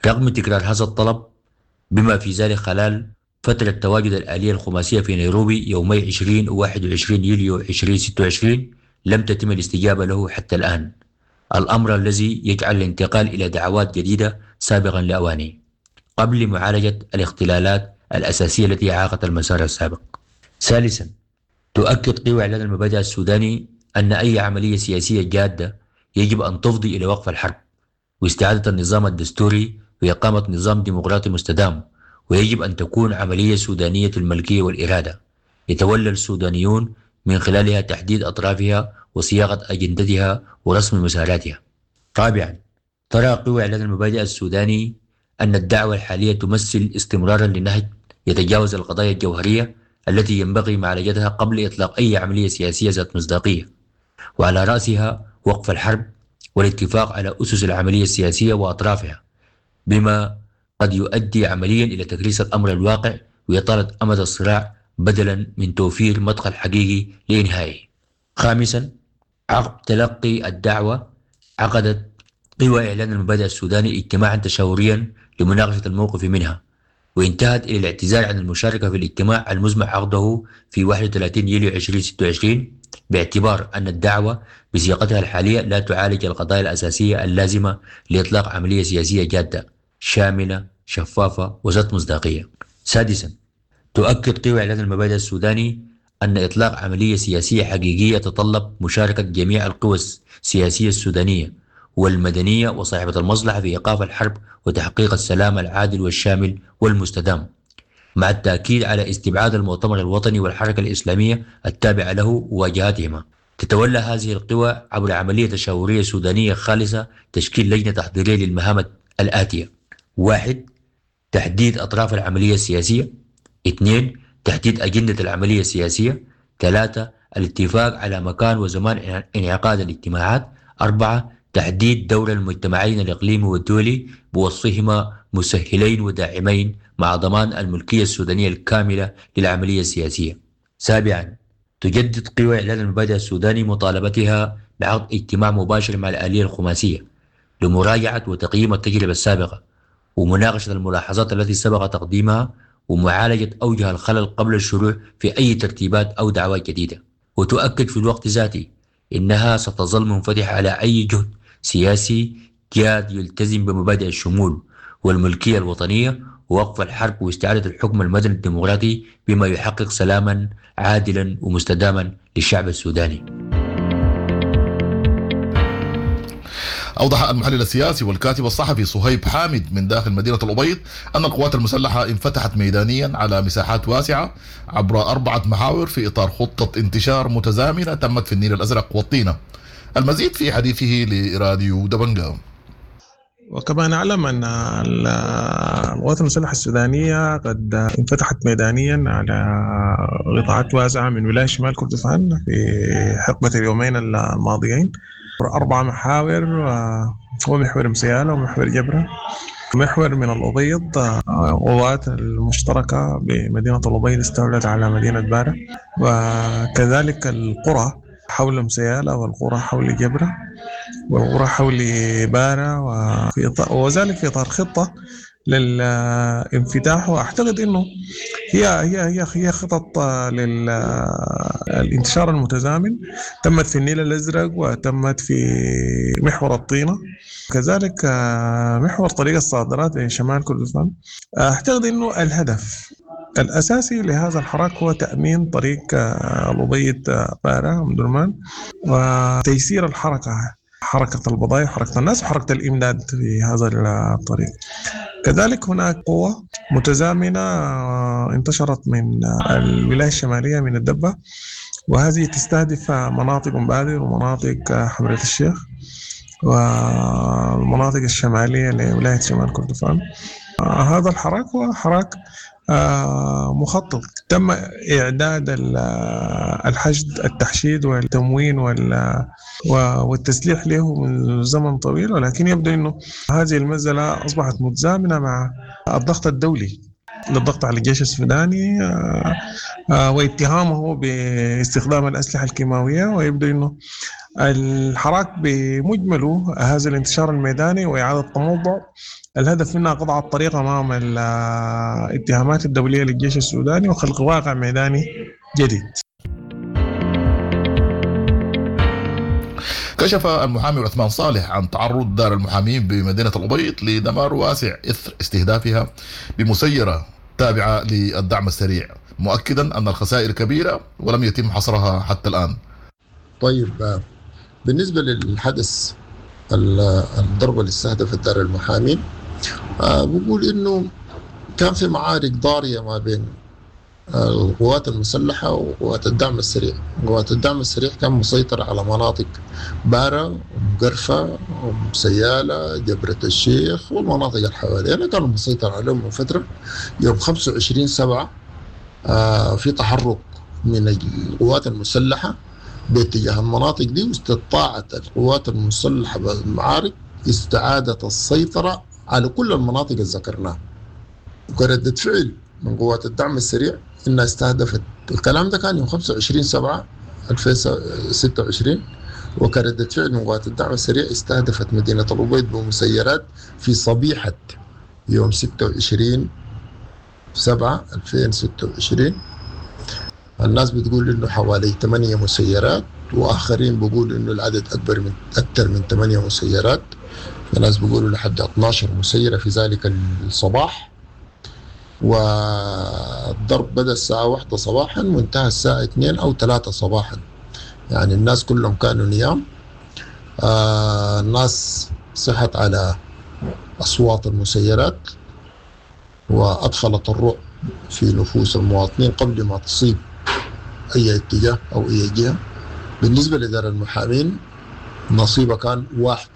رغم تكرار هذا الطلب بما في ذلك خلال فترة تواجد الآلية الخماسية في نيروبي يومي 20 و 21 يوليو 2026 لم تتم الاستجابة له حتى الآن، الأمر الذي يجعل الانتقال إلى دعوات جديدة سابقا لأوانه قبل معالجة الاختلالات الأساسية التي أعاقت المسار السابق. ثالثا، تؤكد قوى إعلان المبادئ السوداني أن أي عملية سياسية جادة يجب أن تفضي إلى وقف الحرب واستعادة النظام الدستوري وإقامة نظام ديمقراطي مستدام، ويجب أن تكون عملية سودانية الملكية والإرادة يتولى السودانيون من خلالها تحديد أطرافها وصياغة أجندتها ورسم مساراتها. رابعا، ترى قوى إعلان المبادئ السوداني أن الدعوة الحالية تمثل استمرارا لنهج يتجاوز القضايا الجوهرية التي ينبغي معالجتها قبل إطلاق أي عملية سياسية ذات مصداقية، وعلى رأسها وقف الحرب والاتفاق على أسس العملية السياسية وأطرافها، بما قد يؤدي عمليا إلى تكريس الأمر الواقع وإطالة أمد الصراع بدلا من توفير مدخل حقيقي لإنهائه. خامسا، عقب تلقي الدعوة عقدت قوى إعلان المبادئ السوداني اجتماعا تشاوريا لمناقشة الموقف منها، وانتهت إلى الاعتذار عن المشاركة في الاجتماع المزمع عقده في 31 يوليو 2026 باعتبار أن الدعوة بصيغتها الحالية لا تعالج القضايا الأساسية اللازمة لإطلاق عملية سياسية جادة شاملة شفافة وذات مصداقية. سادسا، تؤكد قوى إعلان المبادئ السوداني أن إطلاق عملية سياسية حقيقية تتطلب مشاركة جميع القوى السياسية السودانية والمدنية وصاحبة المصلحة في إيقاف الحرب وتحقيق السلام العادل والشامل والمستدام، مع التأكيد على استبعاد المؤتمر الوطني والحركة الإسلامية التابعة له وواجهاتهما. تتولى هذه القوى عبر عملية تشاورية سودانية خالصة تشكيل لجنة تحضيرية للمهام الآتية: 1. تحديد أطراف العملية السياسية. 2. تحديد أجندة العملية السياسية. 3. الاتفاق على مكان وزمان انعقاد الاجتماعات. 4. تحديد دور المجتمعين الإقليمي والدولي بوصفهما مسهلين وداعمين مع ضمان الملكية السودانية الكاملة للعملية السياسية. 7. تجدد قوى إعلان المبادئ السوداني مطالبتها بعقد اجتماع مباشر مع الآلية الخماسية لمراجعة وتقييم التجربة السابقة ومناقشة الملاحظات التي سبق تقديمها ومعالجة أوجه الخلل قبل الشروع في أي ترتيبات أو دعوات جديدة. وتؤكد في الوقت ذاته إنها ستظل منفتحة على أي جهد سياسي جاد يلتزم بمبادئ الشمول والملكية الوطنية ووقف الحرب واستعادة الحكم المدني الديمقراطي بما يحقق سلاما عادلا ومستداما للشعب السوداني. أوضح المحلل السياسي والكاتب الصحفي صهيب حامد من داخل مدينة الأبيض أن القوات المسلحة انفتحت ميدانيا على مساحات واسعة عبر 4 محاور في إطار خطة انتشار متزامنة تمت في النيل الأزرق والطينة. المزيد في حديثه لراديو دبنجا. وكما نعلم أن القوات المسلحة السودانية قد انفتحت ميدانيا على قطاعات واسعة من ولاية شمال كردفان في حقبة اليومين الماضيين، 4 محاور، هو محور مسيالة ومحور جبرة، محور من الأبيض. قوات المشتركة بمدينة الأبيض استولت على مدينة بارة، وكذلك القرى حول مسيالة والقرى حول جبرة والقرى حول بارة، وذلك في إطار خطة للانفتاح. وأعتقد أنه هي هي هي هي خطط للانتشار المتزامن، تمت في النيل الأزرق وتمت في محور الطينة، كذلك محور طريق الصادرات لشمال كردفان. أعتقد أنه الهدف الأساسي لهذا الحراك هو تأمين طريق الأبيض بارة أم درمان وتيسير الحركة، حركة البضائع، حركة الناس، وحركة الإمداد في هذا الطريق. كذلك هناك قوة متزامنة انتشرت من الولاية الشمالية من الدبة، وهذه تستهدف مناطق مبادر ومناطق حمرة الشيخ والمناطق الشمالية لولاية شمال كردفان. هذا الحراك هو حراك مخطط، تم إعداد الحشد، التحشيد والتموين والتسليح له من زمن طويل، ولكن يبدو أنه هذه المسألة أصبحت متزامنة مع الضغط الدولي للضغط على الجيش السوداني واتهامه باستخدام الأسلحة الكيماوية. ويبدو أنه الحراك بمجمله هذا الانتشار الميداني وإعادة التموضع الهدف منها قطع الطريق أمام الاتهامات الدولية للجيش السوداني وخلق واقع ميداني جديد. كشف المحامي عثمان صالح عن تعرض دار المحامين بمدينة الأبيض لدمار واسع إثر استهدافها بمسيرة تابعة للدعم السريع، مؤكدا أن الخسائر كبيرة ولم يتم حصرها حتى الآن. طيب، بالنسبة للحدث الضربة اللي استهدفت دار المحامين، بقول إنه كان في معارك ضارية ما بين القوات المسلحة وقوات الدعم السريع. قوات الدعم السريع كان مسيطر على مناطق بارة ومقرفة وسيالة جبرة الشيخ والمناطق اللي حوالينا، كانوا مسيطر عليهم من فترة. يوم 25/7 في تحرك من القوات المسلحة باتجاه المناطق دي، واستطاعت القوات المسلحة بالمعارك استعادة السيطرة على كل المناطق اللي ذكرناها. وكردة فعل من قوات الدعم السريع انها استهدفت، الكلام ده كان يوم 25/7/2026، وكردة فعل من قوات الدعم السريع استهدفت مدينة الأبيض بمسيرات في صبيحة يوم 26/7/2026. الناس بتقول انه حوالي 8 مسيرات، واخرين بيقولوا انه العدد اكبر من اكثر من 8 مسيرات، في ناس بيقولوا لحد 12 مسيرة في ذلك الصباح. والضرب بدأ الساعة 1 صباحا وانتهى الساعة 2 أو 3 صباحا، يعني الناس كلهم كانوا نيام. الناس صحت على أصوات المسيرات وأدخلت الرعب في نفوس المواطنين قبل ما تصيب أي اتجاه أو أي جهة. بالنسبة لدار المحامين نصيبه كان واحد،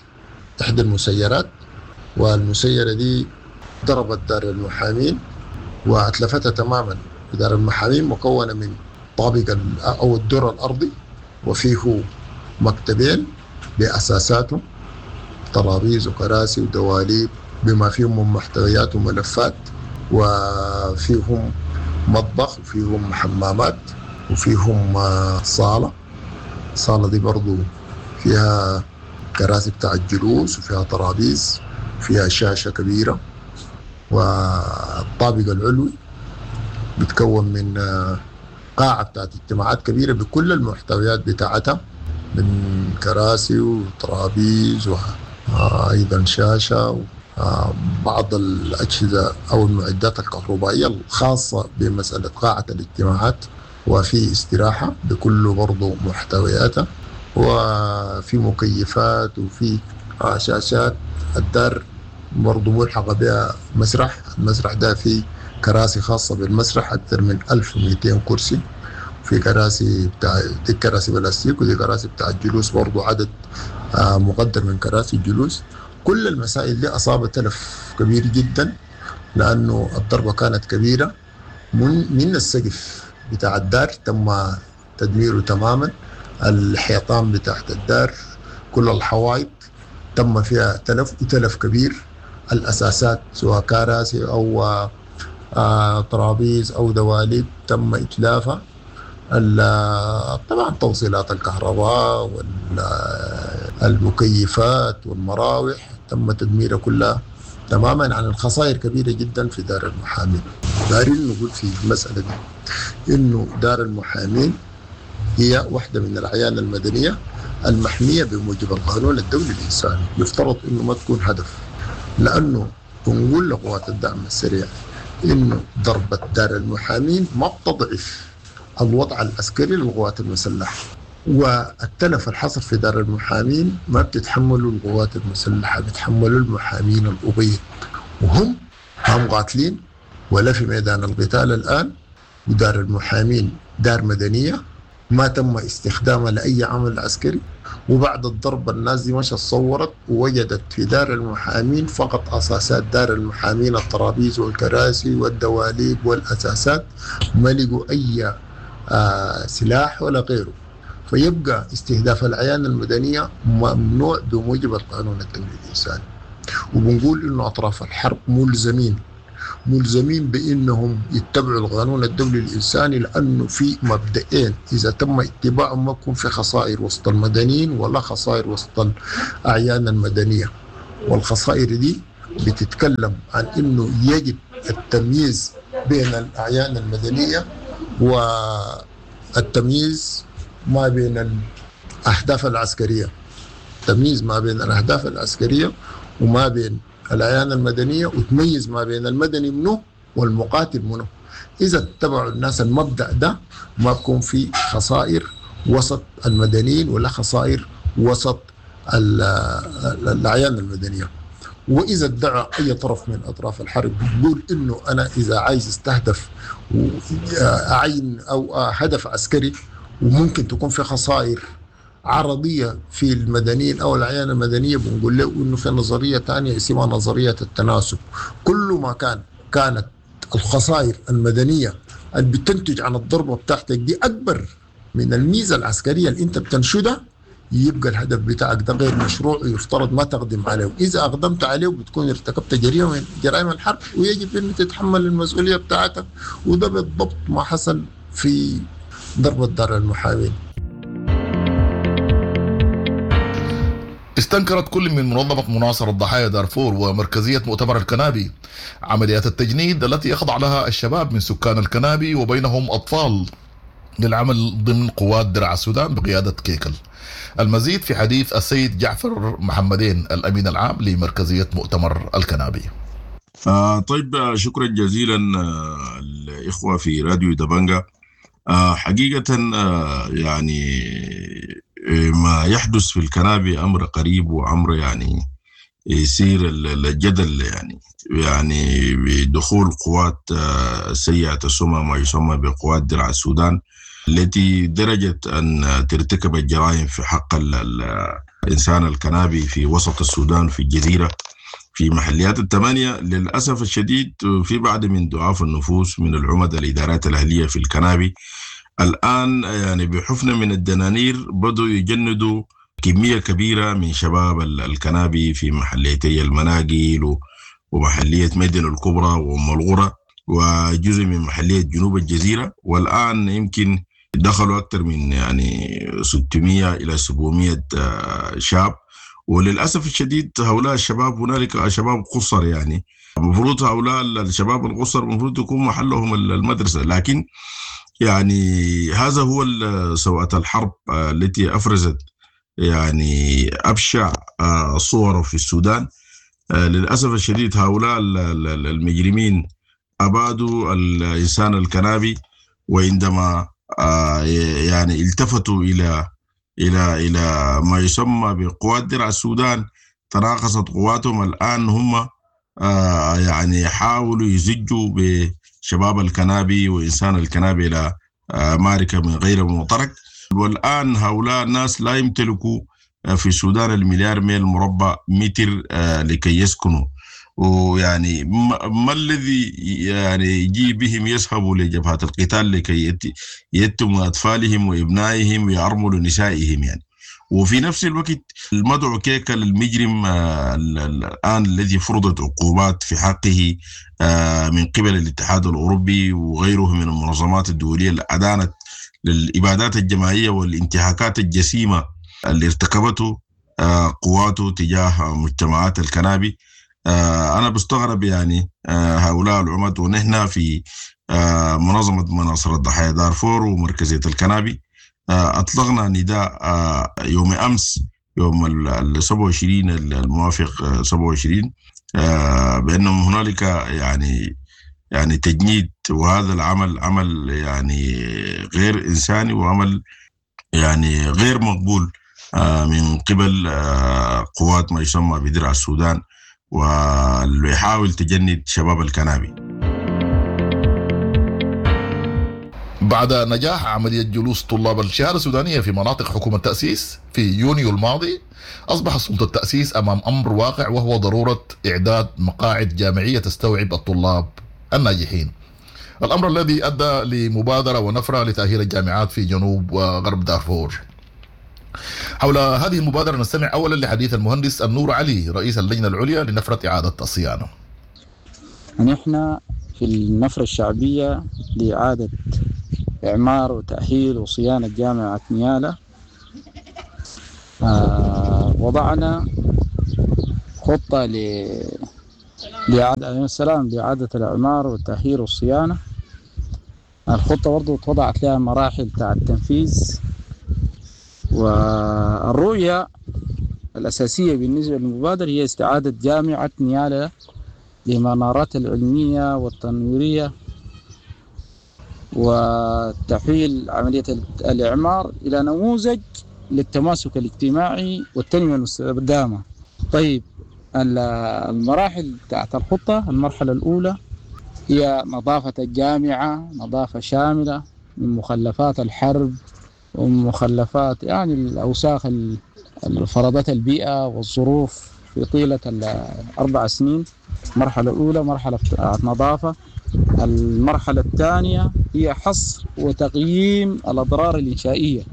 إحدى المسيرات، والمسيرة دي ضربت دار المحامين وأتلفتها تماما. دار المحامين مكونة من طابق أو الدور الأرضي، وفيه مكتبين بأساساته، ترابيز وكراسي ودواليب بما فيهم من محتويات وملفات، وفيهم مطبخ وفيهم حمامات وفيهم صالة. الصالة دي برضو فيها كراسي بتاع الجلوس وفيها ترابيز وفيها شاشة كبيرة. والطابق العلوي بتكون من قاعة بتاعت اجتماعات كبيرة بكل المحتويات بتاعتها من كراسي وترابيز وأيضا شاشة وبعض الأجهزة أو المعدات الكهربائية الخاصة بمسألة قاعة الاجتماعات، وفي استراحة بكل برضو محتوياتها، وفي مكيفات وفي شاشات. الدار برضو ملحقة بها مسرح، المسرح ده فيه كراسي خاصة بالمسرح أكثر من 1200 كرسي، في كراسي بتاع دي كراسي بلاستيك ودي كراسي بتاع الجلوس برضو عدد مقدر من كراسي الجلوس. كل المسائل دي أصابت تلف كبير جدا لأنه الضربة كانت كبيرة. من السقف بتاع الدار تم تدميره تماما، الحيطان بتاعت الدار، كل الحوائط تم فيها تلف وتلف كبير. الأساسات سواء كراسي أو ترابيز أو دواليب تم إتلافها. طبعا توصيلات الكهرباء والمكيفات والمراوح تم تدميرها كلها تماما. عن الخسائر كبيرة جدا في دار المحامين. دارين نقول في المسألة دي إنه دار المحامين هي واحدة من الأعيان المدنية المحمية بموجب القانون الدولي الإنساني، يفترض إنه ما تكون هدف، لأنه بنقول لقوات الدعم السريع إنه ضربة دار المحامين ما بتضعف الوضع العسكري للقوات المسلحة، والتلف الحصل في دار المحامين ما بتتحملوا القوات المسلحة، بتحملوا المحامين الأبيض، وهم هم قاتلين ولا في ميدان القتال الآن. ودار المحامين دار مدنية ما تم استخدامها لأي عمل عسكري. وبعد الضرب الناس دي مشت صورت ووجدت في دار المحامين فقط أساسات دار المحامين، الترابيز والكراسي والدواليب والأساسات، ما لقوا أي سلاح ولا غيره. فيبقى استهداف الأعيان المدنية ممنوع بموجب القانون الدولي الإنساني. وبنقول إنه أطراف الحرب ملزمين ملزمين بانهم يتبعوا القانون الدولي الانساني، لانه في مبدئين اذا تم اتباعهم ما بكون في خسائر وسط المدنيين ولا خسائر وسط الاعيان المدنية. والخسائر دي بتتكلم عن انه يجب التمييز بين الاعيان المدنية والتمييز ما بين الاهداف العسكرية، تمييز ما بين الاهداف العسكرية وما بين الاعيان المدنية، وتميز ما بين المدني منه والمقاتل منه. اذا اتبعوا الناس المبدا ده ما بكون في خسائر وسط المدنيين ولا خسائر وسط الاعيان المدنية. واذا ادعى اي طرف من اطراف الحرب بيقول انه انا اذا عايز استهدف عين او هدف عسكري وممكن تكون في خسائر عرضية في المدنيين او الاعيان المدنية، بنقول له انه في نظرية ثانية اسمها نظرية التناسب. كل ما كانت الخسائر المدنية اللي بتنتج عن الضربة بتاعتك دي اكبر من الميزة العسكرية اللي انت بتنشدها، يبقى الهدف بتاعك ده غير مشروع ويفترض ما تقدم عليه. اذا اقدمت عليه بتكون ارتكبت جريمة من جرائم الحرب ويجب ان تتحمل المسؤولية بتاعتك، وده بالضبط ما حصل في ضربه دار المحامين. استنكرت كل من منظمة مناصرة ضحايا دارفور ومركزية مؤتمر الكنابي عمليات التجنيد التي يخضع لها الشباب من سكان الكنابي وبينهم أطفال للعمل ضمن قوات درع السودان بقيادة كيكل. المزيد في حديث السيد جعفر محمدين الأمين العام لمركزية مؤتمر الكنابي. طيب، شكرا جزيلا الإخوة في راديو دبنجا. حقيقة يعني ما يحدث في الكنابي أمر قريب وأمر يعني يثير الجدل، يعني بدخول قوات سيئة السمعة ما يسمى بقوات درع السودان التي درجت أن ترتكب الجرائم في حق الإنسان الكنابي في وسط السودان في الجزيرة في محليات الثمانية. للأسف الشديد في بعض من ضعاف النفوس من العمد الإدارات الأهلية في الكنابي الآن يعني بحفنة من الدنانير بدوا يجندوا كمية كبيرة من شباب الكنابي في محليتي المناقل ومحلية مدن الكبرى وأم الغرة وجزء من محلية جنوب الجزيرة. والآن يمكن دخلوا أكثر من يعني 600 إلى 700 شاب. وللأسف الشديد هؤلاء الشباب هنالك شباب قصر، يعني المفروض هؤلاء الشباب القصر المفروض يكون محلهم المدرسة، لكن يعني هذا هو سوءة الحرب التي أفرزت يعني أبشع صوره في السودان. للأسف الشديد هؤلاء المجرمين أبادوا الإنسان الكنابي، وعندما يعني التفتوا إلى إلى إلى ما يسمى بقوات درع السودان تراقصت قواتهم. الآن هم يعني حاولوا يزجوا بشباب الكنابي وإنسان الكنابي إلى معركة من غير معترك. والآن هؤلاء الناس لا يمتلكوا في السودان المليار ميل مربع متر لكي يسكنوا. ويعني ما الذي يعني يجي بهم يذهبوا لجبهات القتال لكي يتموا أطفالهم وإبنائهم ويعرملوا نسائهم يعني. وفي نفس الوقت المدعو كيكل المجرم الآن الذي فرضت عقوبات في حقه من قبل الاتحاد الأوروبي وغيره من المنظمات الدولية اللي أدانت للإبادات الجماعية والانتهاكات الجسيمة اللي ارتكبته قواته تجاه مجتمعات الكنابي. أنا بستغرب يعني هؤلاء العمد، ونحن في منظمة مناصرة ضحايا دارفور ومركزية الكنابي أطلقنا نداء يوم أمس يوم ال 27 الموافق 27 بأن هنالك يعني تجنيد، وهذا العمل عمل يعني غير إنساني وعمل يعني غير مقبول من قبل قوات ما يسمى بدرع السودان واللي يحاول تجند شباب الكنابي. بعد نجاح عملية جلوس طلاب الشهادة السودانية في مناطق حكومة التأسيس في يونيو الماضي، أصبح سلطة التأسيس أمام أمر واقع، وهو ضرورة إعداد مقاعد جامعية تستوعب الطلاب الناجحين. الأمر الذي أدى لمبادرة ونفرة لتأهيل الجامعات في جنوب وغرب دارفور. حول هذه المبادرة نستمع أولا لحديث المهندس النور علي رئيس اللجنة العليا لنفرة إعادة الصيانة. نحن في النفرة الشعبية لإعادة إعمار وتأهيل وصيانة جامعة نيالا وضعنا خطة لإعادة السلام لإعادة الإعمار والتأهيل والصيانة. الخطة برضو اتوضعت لها مراحل بتاع التنفيذ، والرؤية الأساسية بالنسبة للمبادرة هي استعادة جامعة نيالا لمنارات العلمية والتنويرية وتحويل عملية الإعمار إلى نموذج للتماسك الاجتماعي والتنمية المستدامة. طيب، المراحل بتاعت الخطة: المرحلة الأولى هي نظافة الجامعة، نظافة شاملة من مخلفات الحرب ومخلفات يعني الأوساخ اللي فرضتها البيئة والظروف في طيلة ال4 سنين. المرحلة الأولى مرحلة نظافة. المرحلة الثانية هي حصر وتقييم الأضرار الإنشائية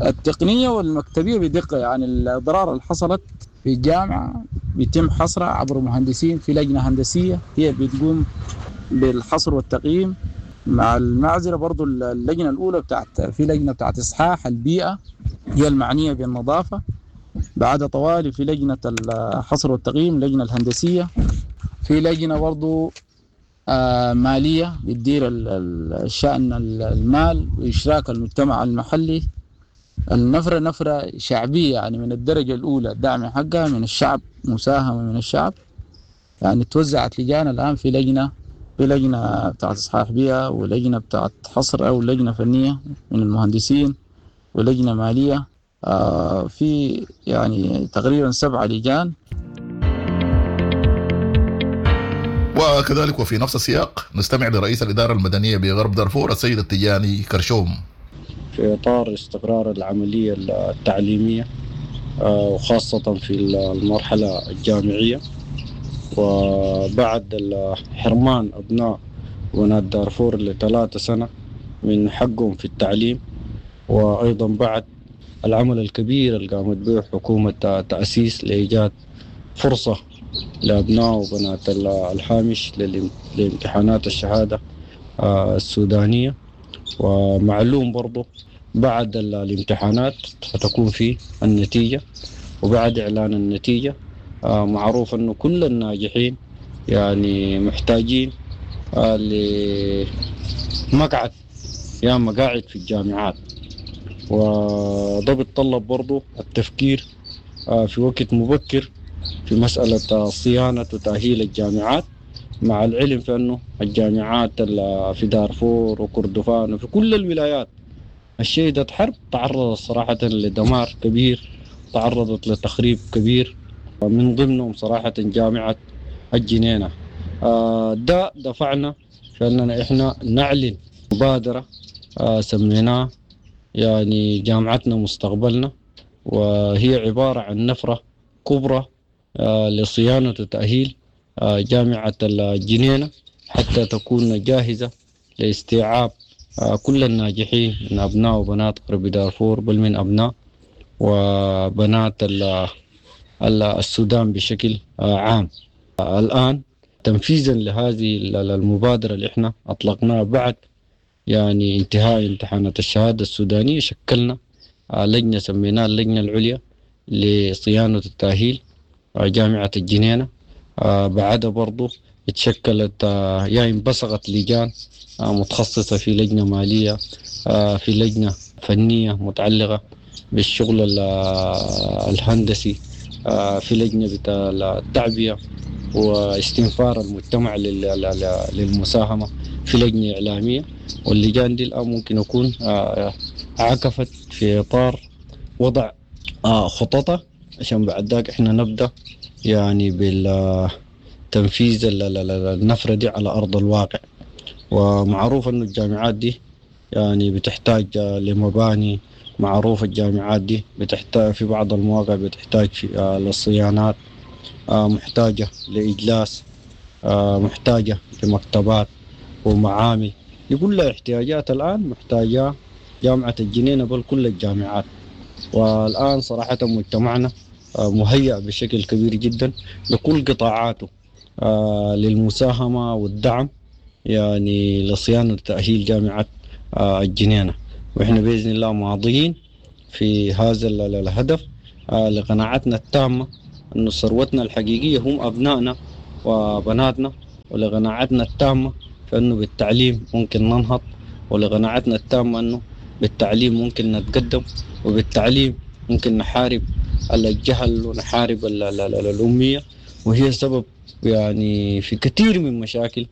التقنية والمكتبية بدقة، يعني الأضرار اللي حصلت في الجامعة بيتم حصرها عبر مهندسين في لجنة هندسية هي بتقوم بالحصر والتقييم. مع المعزلة برضو اللجنة الأولى بتاعت في لجنة بتاعت إصحاح البيئة هي المعنية بالنظافة، بعد طوالي في لجنة الحصر والتقييم لجنة الهندسية، في لجنة برضو مالية بتدير الشأن المال وإشراك المجتمع المحلي. النفرة نفرة شعبية يعني من الدرجة الأولى، الدعم حقها من الشعب، مساهمة من الشعب. يعني توزعت لجان الآن، في لجنة بتاعت إصحاح بيئة، ولجنة بتاعت حصر أو لجنة فنية من المهندسين، ولجنة مالية، في يعني تقريبا 7 لجان. وكذلك وفي نفس السياق نستمع لرئيس الإدارة المدنية بغرب دارفور السيد التجاني كرشوم. في إطار استقرار العملية التعليمية وخاصة في المرحلة الجامعية، وبعد حرمان أبناء وبنات دارفور ل3 سنة من حقهم في التعليم، وأيضا بعد العمل الكبير اللي قامت به حكومة تأسيس لإيجاد فرصة لأبناء وبنات الحامش لامتحانات الشهادة السودانية. ومعلوم برضو بعد الامتحانات ستكون في النتيجة، وبعد إعلان النتيجة معروف أنه كل الناجحين يعني محتاجين لمقعد يا مقاعد في الجامعات، وده بيتطلب برضو التفكير في وقت مبكر في مسألة صيانة وتأهيل الجامعات، مع العلم في أنه الجامعات في دارفور وكردفان وفي كل الولايات الشهدت حرب تعرضت صراحة لدمار كبير، تعرضت لتخريب كبير، من ضمنهم صراحة جامعة الجنينة. ده دفعنا في أننا إحنا نعلن مبادرة سميناها يعني جامعتنا مستقبلنا، وهي عبارة عن نفرة كبرى لصيانة وتأهيل جامعة الجنينة حتى تكون جاهزة لاستيعاب كل الناجحين من أبناء وبنات غرب دارفور، بل من أبناء وبنات السودان بشكل عام. الآن تنفيذا لهذه المبادرة اللي احنا أطلقناها بعد يعني انتهاء امتحانات الشهادة السودانية، شكلنا لجنة سميناها اللجنة العليا لصيانة التأهيل جامعة الجنينة. بعدها برضو اتشكلت يعني انبثقت لجان متخصصة في لجنة مالية، في لجنة فنية متعلقة بالشغل الهندسي، في لجنة بتاع التعبئة واستنفار المجتمع للمساهمة، في لجنة إعلامية. واللجان دي الآن ممكن يكون عكفت في إطار وضع خططها عشان بعد ذاك إحنا نبدأ يعني بالتنفيذ النفرة دي على أرض الواقع. ومعروف أنه الجامعات دي يعني بتحتاج لمباني، معروف الجامعات دي بتحتاج في بعض المواقع بتحتاج للصيانات، محتاجة لإجلاس، محتاجة لمكتبات ومعامل، دي كلها احتياجات الآن محتاجة جامعة الجنينة بل كل الجامعات. والآن صراحة مجتمعنا مهيأ بشكل كبير جدا بكل قطاعاته، للمساهمة والدعم يعني لصيانة وتأهيل جامعة الجنينة. وإحنا بإذن الله ماضيين في هذا الهدف لقناعتنا التامة أن ثروتنا الحقيقية هم أبنائنا وبناتنا، ولقناعتنا التامة فإنه بالتعليم ممكن ننهض، ولقناعتنا التامة أنه بالتعليم ممكن نتقدم، وبالتعليم ممكن نحارب الجهل ونحارب الأمية، وهي سبب يعني في كثير من مشاكل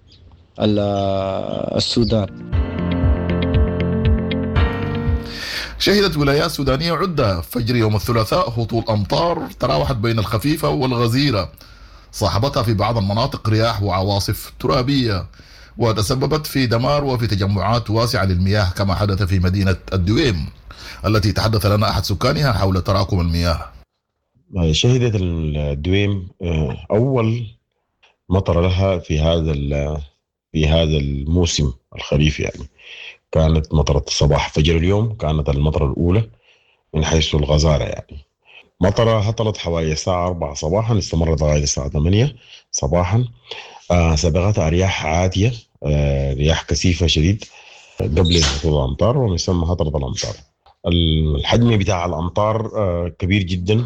السودان. شهدت ولايات سودانية عدة فجر يوم الثلاثاء هطول أمطار تراوحت بين الخفيفة والغزيرة، صاحبتها في بعض المناطق رياح وعواصف ترابية، وتسببت في دمار وفي تجمعات واسعة للمياه كما حدث في مدينة الدويم التي تحدث لنا أحد سكانها حول تراكم المياه. شهدت الدويم أول مطر لها في هذا الموسم الخريف، يعني كانت مطرة الصباح فجر اليوم، كانت المطرة الأولى من حيث الغزارة. يعني مطرة هطلت حوالي الساعة 4 صباحا، استمرت لغاية الساعة 8 صباحا. سبقتها رياح عاتية، رياح كثيفة شديد قبل هطول الأمطار، ومن ثم هطلت الأمطار. الحجم بتاع الأمطار كبير جدا.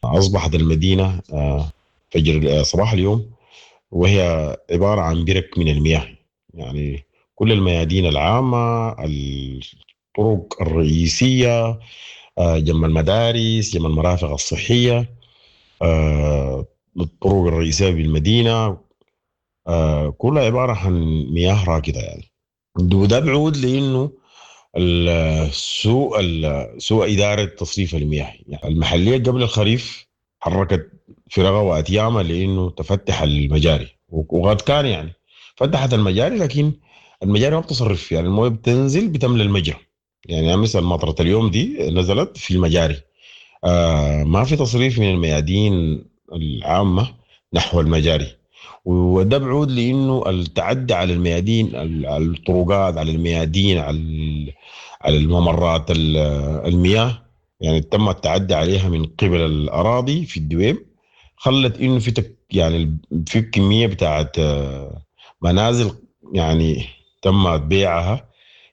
أصبحت المدينة فجر صباح اليوم وهي عبارة عن برك من المياه، يعني كل الميادين العامة، الطرق الرئيسية، جنب المدارس، جنب المرافق الصحية، الطرق الرئيسية بالمدينة، كلها عبارة عن مياه راكدة. يعني وده بعود لأنه سوء إدارة تصريف المياه. يعني المحلية قبل الخريف حركت فرغة وأتيامة لأنه تفتح المجاري، وقد كان يعني فتحت المجاري، لكن المجاري ما بتصرف، يعني المويه بتنزل بتملى المجرى. يعني مثل مطرة اليوم دي نزلت في المجاري، ما في تصريف من الميادين العامة نحو المجاري، وده بعود لأنه التعدي على الميادين، على الطرقات، على الميادين، على الممرات المياه، يعني تم التعدي عليها من قبل الأراضي في الدويم، خلت إنه في يعني في كمية بتاعت منازل يعني تم بيعها،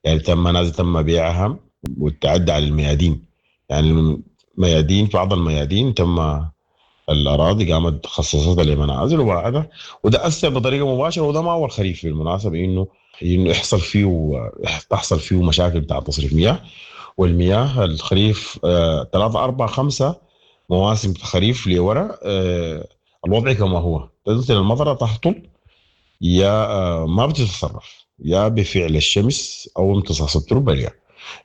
يعني تم منازل تم بيعها والتعدي على الميادين. يعني الميادين، بعض الميادين تم الأراضي قامت خصصتها لمنازل وبعدها، وده أثر بطريقة مباشرة. وده ما أول خريف بالمناسبة إنه يحصل فيه تحصل فيه مشاكل بتاع تصريف مياه. والمياه الخريف 3 4 5 مواسم خريف لورا الوضع كما هو، تنزل المطرة تهطل يا ما بتتصرف، يا بفعل الشمس او امتصاص التربه ليها.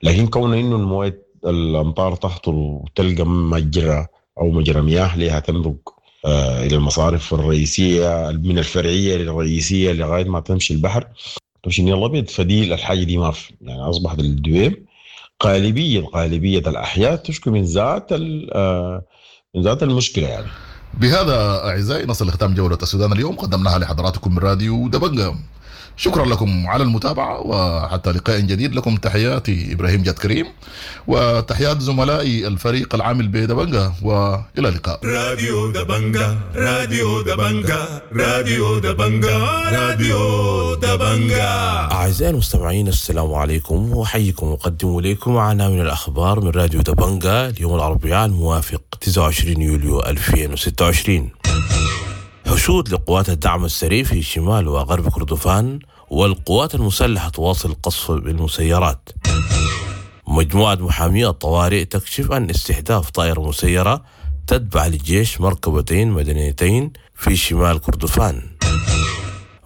لكن كون انه المويه الامطار تهطل وتلقى مجرى او مجرى مياه لها تمرق الى المصارف الرئيسيه من الفرعيه للرئيسيه لغايه ما تمشي البحر، تمشي النيل الابيض، فدي الحاجه دي ما في. يعني اصبحت الدويم غالبيه الاحياء تشكو من ذات المشكله. يعني بهذا أعزائي نصل لختام جولة السودان اليوم، قدمناها لحضراتكم من راديو دبنجة. شكرا لكم على المتابعة، وحتى لقاء جديد لكم تحياتي إبراهيم جاد كريم وتحيات زملائي الفريق العامل بدبنجة، وإلى اللقاء. راديو دبنجة، راديو دبنجة، راديو دبنجة، راديو دبنجة. أعزائي المستمعين، السلام عليكم، وأحييكم وأقدم إليكم عناوين الأخبار من راديو دبنجة اليوم الأربعاء الموافق 29 يوليو 2026. حشود لقوات الدعم السريع في شمال وغرب كردفان، والقوات المسلحة تواصل القصف بالمسيرات. مجموعة محامي الطوارئ تكشف عن استهداف طائرة مسيرة تتبع للجيش مركبتين مدنيتين في شمال كردفان.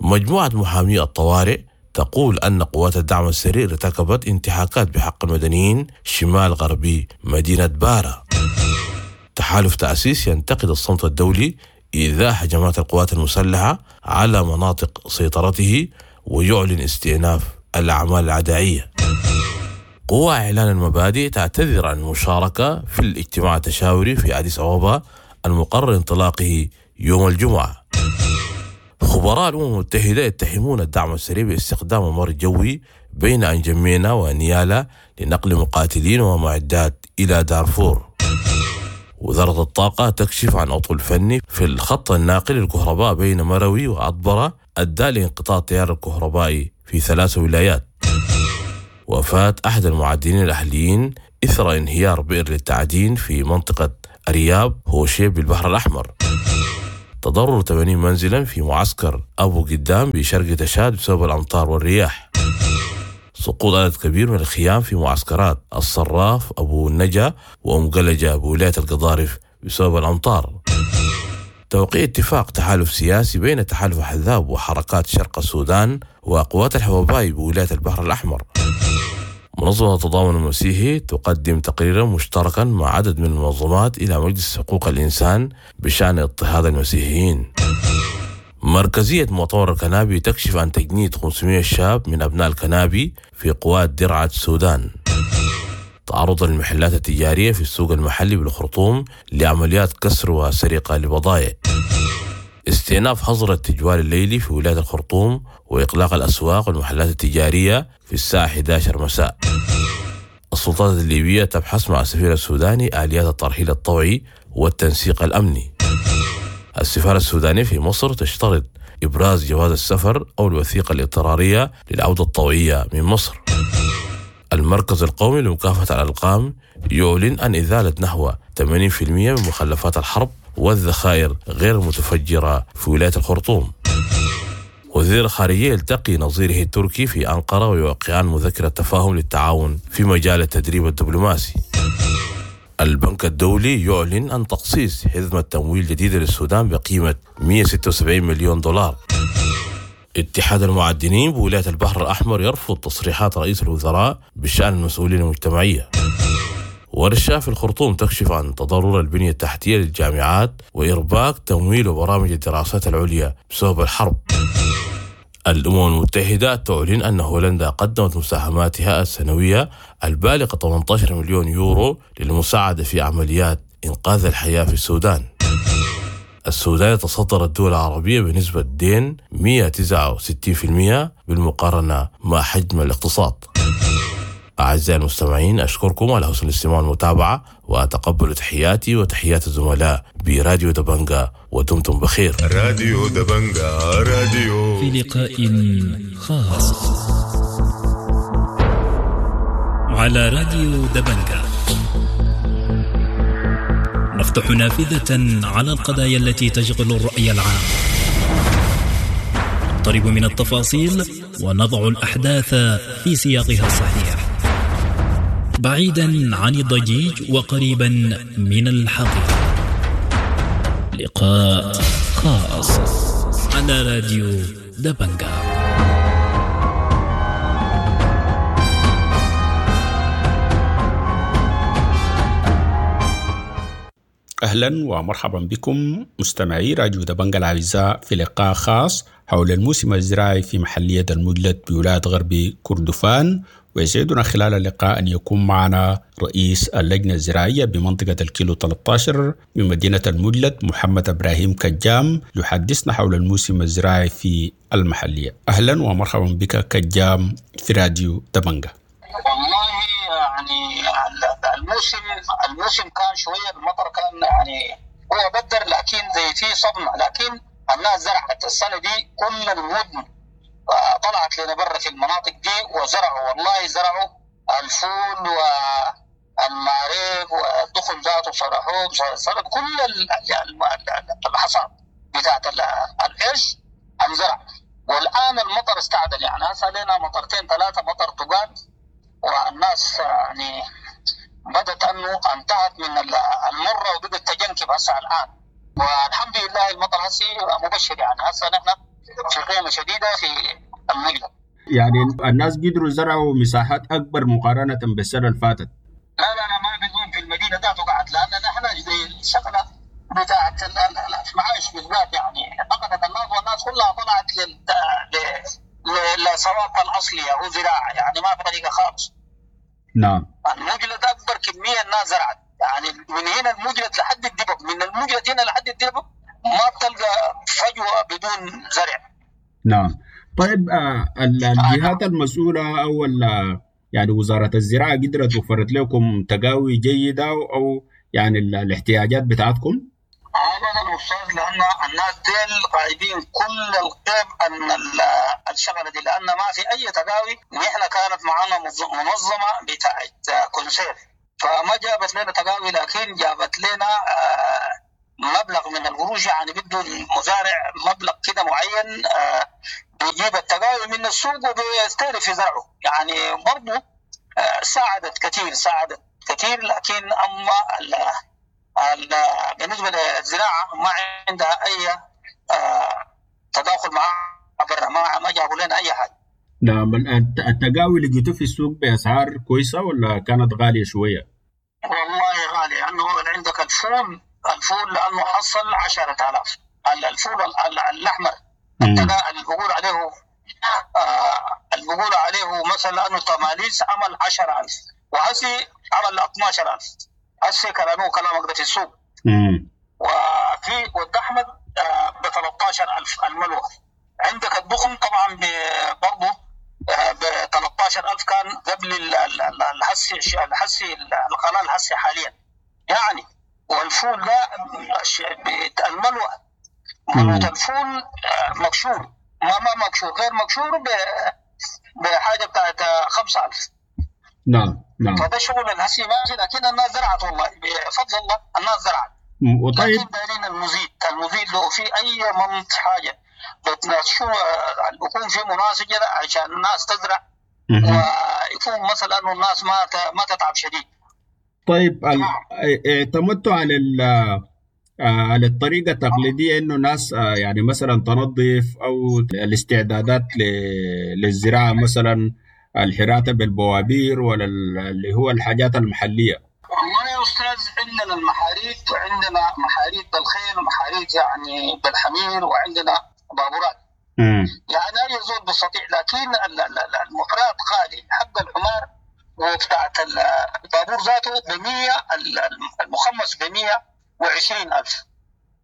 مجموعة محامي الطوارئ تقول أن قوات الدعم السريع ارتكبت انتهاكات بحق المدنيين شمال غربي مدينة بارا. تحالف تأسيس ينتقد الصمت الدولي إذا هجمات القوات المسلحة على مناطق سيطرته ويعلن استئناف الأعمال العدائية. قوى إعلان المبادئ تعتذر عن المشاركة في الاجتماع التشاوري في أديس أبابا المقرر انطلاقه يوم الجمعة. خبراء الأمم المتحدة يتهمون الدعم السريع باستخدام ممر جوي بين أنجمينا ونيالا لنقل مقاتلين ومعدات إلى دارفور. وزارة الطاقة تكشف عن عطل فني في الخط الناقل للكهرباء بين مروي وعطبرة أدى لانقطاع التيار الكهربائي في 3 ولايات. وفاة أحد المعدنين الأهليين إثر انهيار بئر للتعدين في منطقة أرياب هوشيب بالبحر الأحمر. تضرر 80 منزلا في معسكر أبو قدام بشرق تشاد بسبب الأمطار والرياح. سقوط عدد كبير من الخيام في معسكرات الصراف أبو النجا وأم قلجة بولاية القضارف بسبب الأمطار. توقيع اتفاق تحالف سياسي بين تحالف أحزاب وحركات شرق السودان وقوات الحوباي بولاية البحر الأحمر. منظمة التضامن المسيحي تقدم تقريرا مشتركا مع عدد من المنظمات إلى مجلس حقوق الإنسان بشأن اضطهاد المسيحيين. مركزية مؤتمر الكنابي تكشف عن تجنيد 500 شاب من أبناء الكنابي في قوات درعة السودان. تعرض المحلات التجارية في السوق المحلي بالخرطوم لعمليات كسر وسرقة لبضائع. استئناف حظر التجوال الليلي في ولاية الخرطوم وإغلاق الأسواق والمحلات التجارية في الساعة 11 مساء. السلطات الليبية تبحث مع السفير السوداني آليات الترحيل الطوعي والتنسيق الأمني. السفارة السودانية في مصر تشترط إبراز جواز السفر أو الوثيقة الاضطرارية للعودة الطوعية من مصر. المركز القومي لمكافحة الألقام يعلن عن إزالة نحو 80% من مخلفات الحرب والذخائر غير المتفجرة في ولاية الخرطوم. وزير الخارجية يلتقي نظيره التركي في أنقرة ويوقعان مذكرة تفاهم للتعاون في مجال التدريب الدبلوماسي. البنك الدولي يعلن عن تخصيص حزمة تمويل جديدة للسودان بقيمة 176 مليون دولار. اتحاد المعدنين بولاية البحر الأحمر يرفض تصريحات رئيس الوزراء بشأن المسؤولين المجتمعية. ورشة في الخرطوم تكشف عن تضرر البنية التحتية للجامعات وإرباك تمويل وبرامج الدراسات العليا بسبب الحرب. الأمم المتحدة تعلن أن هولندا قدمت مساهماتها السنوية البالغة 18 مليون يورو للمساعدة في عمليات إنقاذ الحياة في السودان. السودان يتصدر الدول العربية بنسبة دين 169% بالمقارنة مع حجم الاقتصاد. أعزائي المستمعين، أشكركم على حسن الاستماع والمتابعة، وأتقبل تحياتي وتحيات الزملاء براديو دبنجا، ودمتم بخير. راديو دبنجا راديو في لقاء خاص على راديو دبنجا نفتح نافذة على القضايا التي تشغل الرأي العام، نقترب من التفاصيل ونضع الأحداث في سياقها الصحيح، بعيدا عن الضجيج وقريبا من الحقيقة. لقاء خاص على راديو دبنجا. أهلا ومرحبا بكم مستمعي راديو دبنجا الأعزاء في لقاء خاص حول الموسم الزراعي في محلية المجلد بولاية غرب كردفان. ويسعدنا خلال اللقاء أن يكون معنا رئيس اللجنة الزراعية بمنطقة الكيلو 13 بمدينة المجلد محمد إبراهيم كجام يحدثنا حول الموسم الزراعي في المحلية. أهلا ومرحبا بك كجام في راديو دبنجا. والله يعني الموسم كان شوية، المطر كان يعني هو بدر، لكن زي في صدمة، لكن الناس زرعت السنة دي كل المدن طلعت لنا برا في المناطق دي وزرعوا، والله زرعوا الفول والماريق والدخن ذاته صرحوه صرح كل الحصاد بتاعت القرش انزرع. والآن المطر استعدل، يعني هسه لنا مطرتين ثلاثة مطر تقال، والناس يعني بدت انه انتهت من المره وبدت تجنكب هسه الان، والحمد لله المطر هسه مبشر، يعني هسه نحن في قيمه شديده في المجلد. يعني الناس قدروا زرعوا مساحات اكبر مقارنه بالسنه اللي فاتت. لا لا لا، ما بيكون في المدينه ذاته قعد، لان نحن زي الشغله بتاعت المعايش بالذات يعني فقدت الناس، والناس كلها طلعت للصواب الاصلي او زراعه، يعني ما في طريقه خالص. نعم. المجلد اكبر كميه الناس زرعت، يعني من هنا المجلد لحد الدبب، من المجلد هنا لحد الدبب ما بتلقى فجوه بدون زرع. نعم. طيب الجهات المسؤوله او يعني وزاره الزراعه قدرت وفرت لكم تقاوي جيده او يعني الاحتياجات بتاعتكم؟ ابدا استاذ، لان الناس ديل غايبين كل الغيب عن الشغلة دي، لان ما في اي تقاوي. نحن كانت معنا منظمة بتاعت كونسير، فما جابت لنا تقاوي، لكن جابت لنا مبلغ من القروش، يعني بده المزارع مبلغ كده معين بيجيب التقاوي من السوق وبيستهلك في زرعه. يعني برضه ساعدت كثير، ساعدت كثير. لكن اما بالنسبة للزراعة ما عندها اي تداخل مع برا، ما جابوا لنا اي حاجة. نعم. التقاوي لقيتوه في السوق باسعار كويسة ولا كانت غالية شوية؟ والله غالية، لانه عندك الفول لانه حصل 10,000 الفول الاحمر اللي بقول عليه اللي بقول عليه مثلا انه تماليس عمل 10,000 وهسي عمل 12,000 هسي كلامه كلامك ده في السوق. وفي ود احمد ب 13,000 الملوى. عندك الدخن طبعا برضه ب 13,000 كان قبل الحسي القناة الحسي حاليا يعني. والفول ده الملوى ملوى الفول مكشور، ما مكشور، غير مكشور بحاجة بتاعت 5,000. نعم نعم. فده شغل الهسي ماشي، لكن الناس زرعت والله بفضل الله الناس زرعت. وطيب لكن دايرين المزيد لو في اي منط حاجة بتناسشوا بيكون في مناسجه عشان الناس تزرع، ويكون مثلا انه الناس ما تتعب شديد. طيب اعتمدتوا على على الطريقة التقليدية انه ناس يعني مثلا تنظف او الاستعدادات للزراعة، مثلا الحراتة بالبوابير ولا اللي هو الحاجات المحلية؟ والله يا أستاذ عندنا المحاريت، وعندنا محاريت بالخيل ومحاريت يعني بالحمير، وعندنا بابورات. يعني أي زول بيستطيع، لكن المحرات غالي. حق الحمار وبتاعت البابور ذاته ب100، المخمس ب120,000،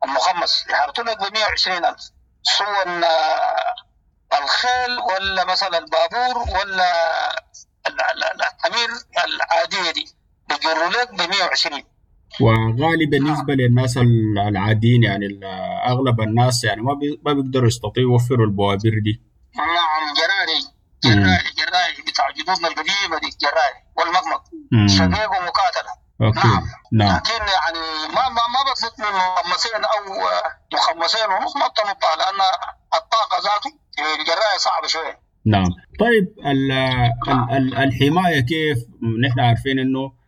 المخمس يحرطوا لك ب120,000، سواء الخيل ولا مثلا البابور ولا الحمير العادية دي بيجروا لك ب120. وغالي بالنسبة للناس العاديين، يعني اغلب الناس يعني ما بيقدروا يستطيعوا يوفروا البوابير دي. نعم، جراري جراري بتاع جدودنا القديمة دي، جراري والمقمق شقيق ومقاتله. okay. نعم. نعم. لكن يعني ما بتنط من مخمسين او مخمسين ونص، ما بتنطها لان الطاقة ذاته الجرايه صعبة شوية. نعم. طيب الحماية كيف؟ نحن عارفين انه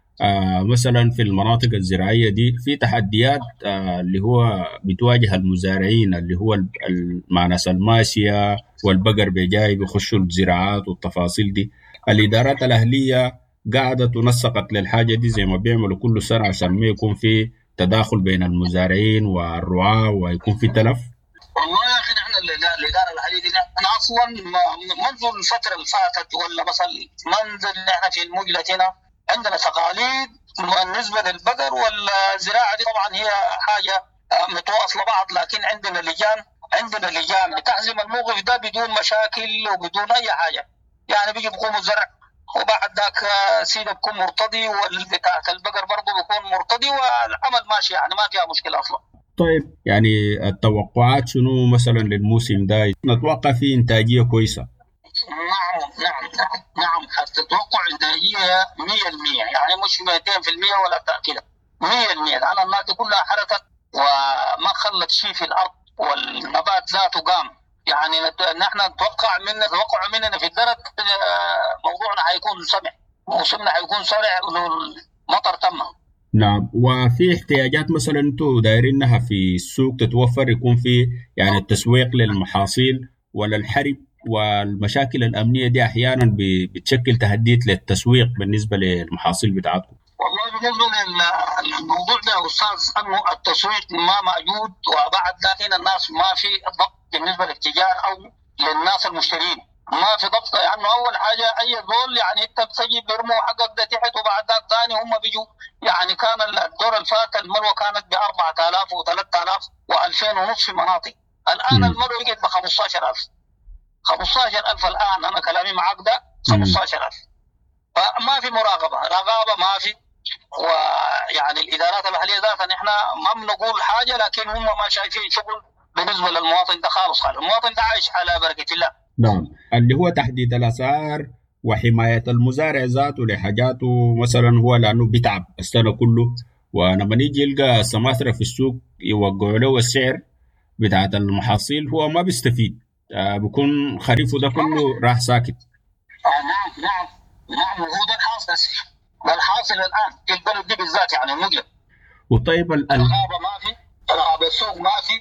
مثلا في المناطق الزراعية دي في تحديات اللي هو بتواجه المزارعين، اللي هو مع ناس الماشية والبقر بيجاي بيخشوا الزراعات والتفاصيل دي. الادارات الاهلية قعدت ونسقت للحاجة دي زي ما بيعملوا كل سنة عشان ما يكون في تداخل بين المزارعين والرعاة ويكون في تلف؟ والله يا اخي نحن الادارة الاهلية دي نحن اصلا منذ الفترة اللي فاتت، ولا مثلا منذ نحن في المجلة هنا عندنا تقاليد بالنسبة للبقر والزراعة دي، طبعا هي حاجة متواصلة بعض، لكن عندنا لجان بتحزم الموقف ده بدون مشاكل وبدون اي حاجة. يعني بيجي بيقوموا الزرع وبعد ذاك سيده بيكون مرتضي، والبتاعة البقر برضه بيكون مرتضي، والعمل ماشي يعني ما فيها مشكلة اصلا. طيب يعني التوقعات شنو مثلا للموسم ده؟ نتوقع فيه انتاجية كويسة؟ نعم نعم نعم نعم، حتتوقع انتاجية 100%، يعني مش 200% ولا كده، 100%، لان الناس كلها حركت وما خلت شيء في الارض، والنبات ذاته قام. يعني نحن نتوقع مننا في الدرك موضوعنا حيكون سمع، موسمنا حيكون سرع لو المطر تم. نعم. وفي احتياجات مثلا انتم دايرينها في السوق تتوفر، يكون في يعني التسويق للمحاصيل ولا الحرب والمشاكل الأمنية دي أحيانا بتشكل تهديد للتسويق بالنسبة للمحاصيل بتاعتكم؟ والله بالنسبة للموضوع ده يا أستاذ، أنه التسويق ما موجود، وبعد ذاك هنا الناس ما في ضبط بالنسبة للتجار أو للناس المشترين، ما في ضبط. لأنه يعني أول حاجة أي زول يعني أنت بتجي بيرموا حقك ده تحت، وبعد ذاك ثاني هم بيجوا. يعني كان الدور الفات الملوى كانت ب 4000 و3000 و2500 ونص في مناطق، الآن الملوى بقت ب 15000. 15000 الآن، أنا كلامي معاك ده 15000. فما في مراقبة، رقابة ما في، ويعني الادارات المحلية ذاتها نحن ما بنقول حاجة، لكن هم ما شايفين شغل بالنسبة للمواطن ده خالص خالص. المواطن ده عايش على بركة الله. نعم، اللي هو تحديد الاسعار وحماية المزارع ذاته لحاجاته مثلا، هو لانه بيتعب السنة كله، ولما يجي يلقى سماسرة في السوق يوقعوا له السعر بتاعت المحاصيل هو ما بيستفيد، بيكون خريفه ده كله راح ساكت. نعم نعم نعم، وهو ده الحاصل، ده الحاصل الان في البلد دي بالذات يعني المجلد. وطيب الغابة ما في، رغبة السوق ما في،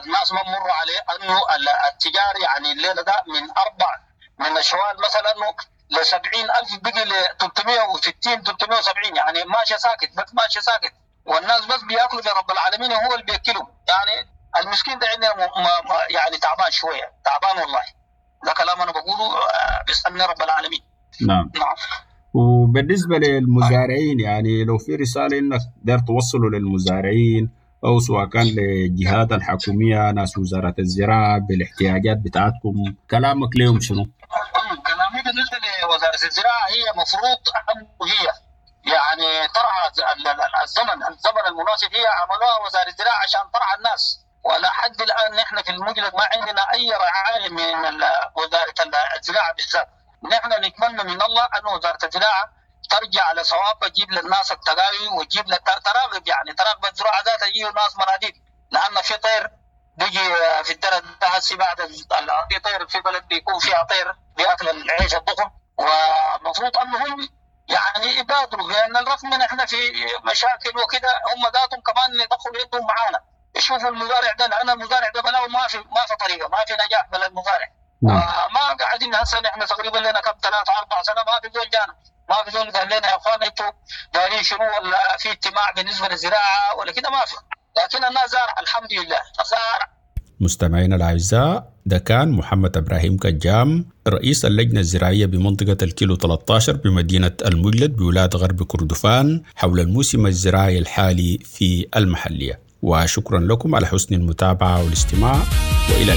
الناس ما بمروا عليه انه التجار يعني الليلة ده من اربع من الشوال مثلا ل 70000 بقي ل 360 370، يعني ماشي ساكت، بس ماشي ساكت، والناس بس بياكلوا برب العالمين هو اللي بياكلهم. يعني المسكين ده عندنا يعني تعبان شوية، تعبان والله. ده كلام انا بقوله بيسالني رب العالمين. نعم نعم. وبالنسبة للمزارعين يعني لو في رسالة انك داير توصله للمزارعين او سواء كان للجهات الحكومية، ناس وزارة الزراعة، بالاحتياجات بتاعتكم، كلامك لهم شنو؟ كلامي بالنسبة لوزارة الزراعة هي مفروض انه هي يعني ترعى الزمن المناسب، هي عملوها وزارة الزراعة عشان ترعى الناس، ولا حد الان نحن في المجلد ما عندنا اي رعاية من وزارة الزراعة بالذات. نحن نتمنى من الله ان وزارة الزراعة ترجع لصوابها، تجيب للناس التقاوي وتجيب تراغب، يعني تراغب الزراعة ذاتها، تجيب الناس مناديب، لان في طير بيجي في الدرة ده هسي بعد في طير في بلد بيكون فيها طير بياكل العيش الضخم، ومفروض انهم يعني يبادروا، لان الرغم من احنا في مشاكل وكده هم ذاتهم كمان يدخلوا يدهم معانا، يشوفوا المزارع ده، لان المزارع ده بلاو ما في طريقه، ما في نجاح بلا المزارع. نعم. ما قاعدين هسه نحن تقريبا لنا كم 3 4 سنة ما في زول جانا، ما في زول قال لنا يا اخوان انتوا دايرين شنو، ولا في اجتماع بالنسبة للزراعة ولا كده، ما في. لكن الناس زارع الحمد لله زارع. مستمعينا الأعزاء، ده كان محمد إبراهيم كجام رئيس اللجنة الزراعية بمنطقة الكيلو 13 بمدينة المجلد بولاية غرب كردفان حول الموسم الزراعي الحالي في المحلية. وشكرا لكم على حسن المتابعة والاستماع، وإلى